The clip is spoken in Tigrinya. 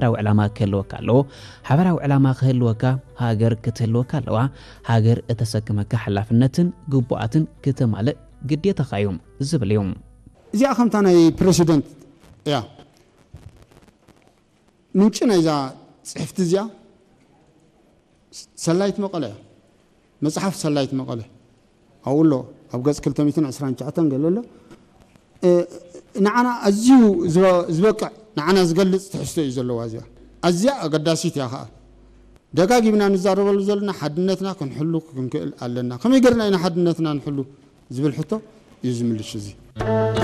ሓበራዊ ዕላማ ክህልወካ ኣለዎ። ሓበራዊ ዕላማ ክህልወካ፣ ሃገር ክትህልወካ ኣለዋ። ሃገር እተሰክመካ ሓላፍነትን ግቡኣትን ክተማልእ ግዴታኻ እዩ ዝብል እዩ። እዚኣ ከምታ ናይ ፕረሲደንት እያ። ምንጪ ናይዛ ጽሕፍቲ እዚኣ ሰላይት መቐለ እያ። መጽሓፍ ሰላይት መቐለ ኣብኡ ኣሎ። ኣብ ገጽ ክልተ ሚእትን ዕስራን ትሽዓተን ገለ ኣሎ። እ፣ ንዓና ኣዝዩ ዝበ-፣ ዝበቅዕ፣ ንዓና ዝገልጽ ትሕዝቶ እዩ ዘለዋ እዚኣ። ኣዝያ ኣገዳሲት እያ ኸኣ። ደጋጊምና ንዛረበሉ ዘለና ሓድነትና ክንሕሉ ክንክእል ኣለና። ከመይ ገርና ኢና ሓድነትና ንሕሉ ዝብል ሕቶ እዩ ዝምልሽ እዚ።